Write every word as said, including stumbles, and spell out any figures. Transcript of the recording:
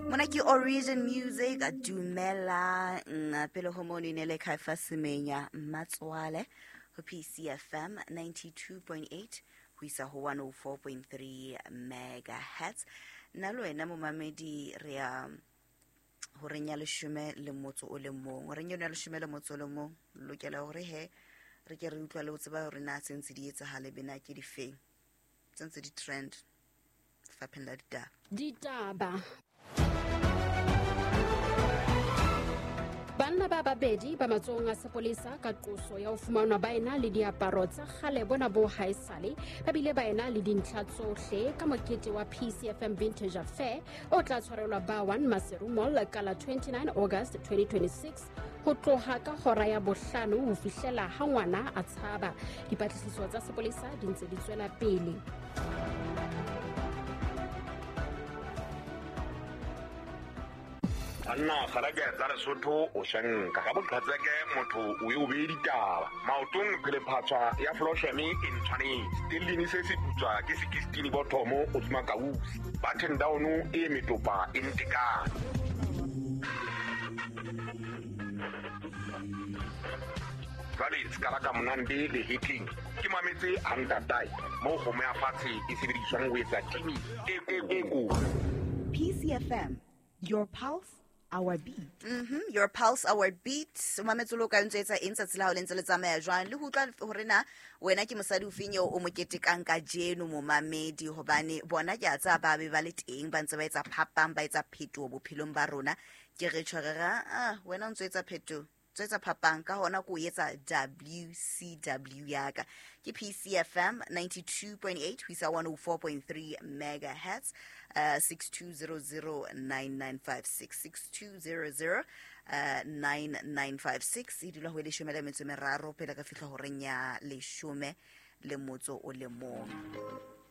Mona ke Origin Music, dumela pele ho mono ne le Kaifa Semenya Matswale ho P C F M ninety-two point eight ho isa ho one oh four point three megahertz. Nna le wena momamedi re ya horeng ya leshome le motso o le mong. Horeng ya leshome le motso o le mong lokela hore he re ke re utlwa le ho tseba hore na tse ntse di etsahale bena ke difeng tse ntse di trend lefapheng la ditaba. Ditaba. Banna ba babedi ba matsohong a sepolesa ka qoso ya ho fumanwa ba ena le diaparo tsa kgale bona bo haesale ba bile ba ena le dintlha tsohle ka mokete wa P C F M Vintage Affair o tla tshwarelwa ba one Maseru Mall ka la twenty-nine August twenty twenty-six ho tloha ka hora ya bohlano ho fihlela ha ngwana a tshaba. Dipatlisiso tsa sepolesa di ntse di tswela pele. Anna kgarake tsa Lesotho o shanka ka boqhatseke motho o e o be ditaba maotong phele phatswa ya Floshemi e ntshwanetse stellini se se putswa ke sixteen bothomo o tsuma kausi button down e metopa e ntekane jwale skala ka monande le hitling ke mametse hantatai mo kgomo ya fatshe e sebediswang ho etsa timi e e ko P C F M, your pulse, our beat. Mm-hmm. Your pulse, our beat. Mametse lo ka ntse etsa eng tsatsi la hao le ntse le tsamaya jwang le ho utlwa hore na wena ke mosadi o feng eo o mo ketekang kajeno momamedi hobane bona ke a tsaba ba be ba le teng ba ntse ba etsa phapang ba etsa phetoho bophelong ba rona ke re tjho re ra ah wena o ntse etsa phetoho etsa phapang ka hona ko etsa W C W yaka ke P C F M ninety-two point eight ho isa one oh four point three megahertz uh, six two zero zero nine nine five six six two zero zero nine nine five six e dula ho leshome le metso meraro pele ka fihla horeng ya leshome le motso o le mong.